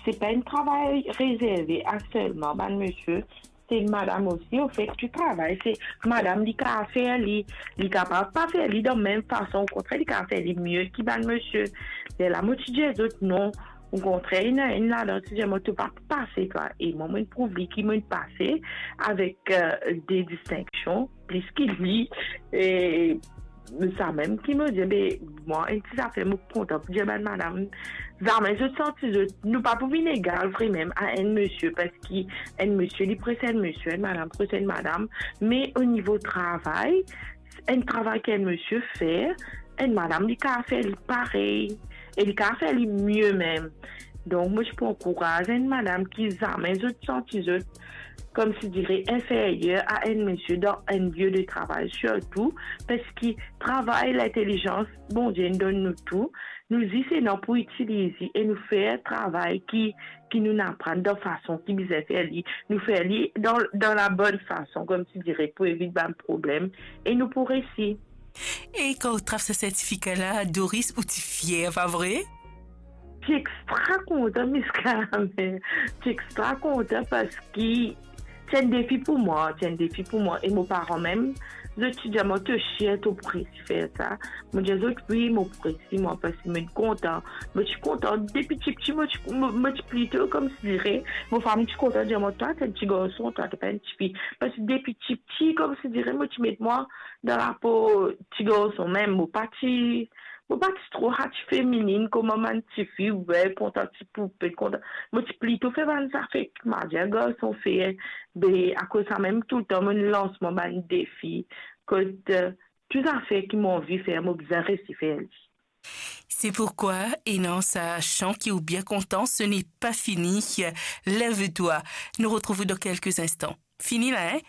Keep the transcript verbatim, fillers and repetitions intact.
Se pa enn travay rezerve a selman bann misie, se madam osi, anfet, ki travay. Se madam, li kapav fer li, li kapav pa fer li dan mem fason, okontrer, li kapav fer li mie ki bann misie. Lerla mo ti dir zot non, okontrer, ena enn ladan ti dir mwa to pa pase twa. E mwa, mo'nn prouv li ki mo'nn pase avek euh, de distinksion, plis ki li. E sa mem ki mo dir, be, mwa, enn ti zafer mo kontan pou dir bann madam, zame zot santi zot, nou pa pou vinn egal vremem a enn misie, parski enn misie, li pres enn misie, enn madam pres enn madam, me o nivo travay, enn travay ki enn misie fer, enn madam, li kapav fer li parey, e li kapav fer li mie mem. Donk, mo ti pou ankouraz enn madam ki zame zot santi zot, koumsi dire, inferyer a enn misie dan enn lie de travay, sirtou parski travay, lintelizans Bondie inn donn nou tou, nou zis ena pou itiliz li e nou fer travay ki, ki nou'nn aprann dan fason ki bizin fer li, nou fer li dan, dan labonn fason, koumsi dire, pou evit bann problem, e nou pou resi. E kan ou trap sa sertifika la, Doris, ou ti fier, pa vre? Ti extra kontan, Miss Carmen. Ti extra kontan parski ti enn defi pou mwa, ti enn defi pou mwa. E mo paran mem, zot ti dir mwa, to sir to pou resi fer sa? Mo dir zot, wi, mo pou resi mwa, parski mo'nn kontan. Mo ti kontan depi tipti, mo ti, mo, mo ti plito, koumsi dire, mo fami ti kontan dir mwa, twa, to enn ti garson, twa, to pa enn tifi. Parski depi tipti, koumsi dire, mo ti met mwa dan lapo ti garson mem. Mo pa ti, mo pa ti tro sa ti femininn kouma bann tifi, wi, kontan ti poupe, kontan. Mo ti plito fer bann zafer ki, ma dir, garson fer. Be, akoz sa mem, toultan mo'nn lans mwa bann defi. Kot, euh, tou zafer ki mo anvi fer, mo bizin resi fer li. C'est pourquoi, ena sa shan ki ou bien kontan, ce n'est pas fini. Lève-toi. Nous retrouvons dans quelques instants. Fini la, hein?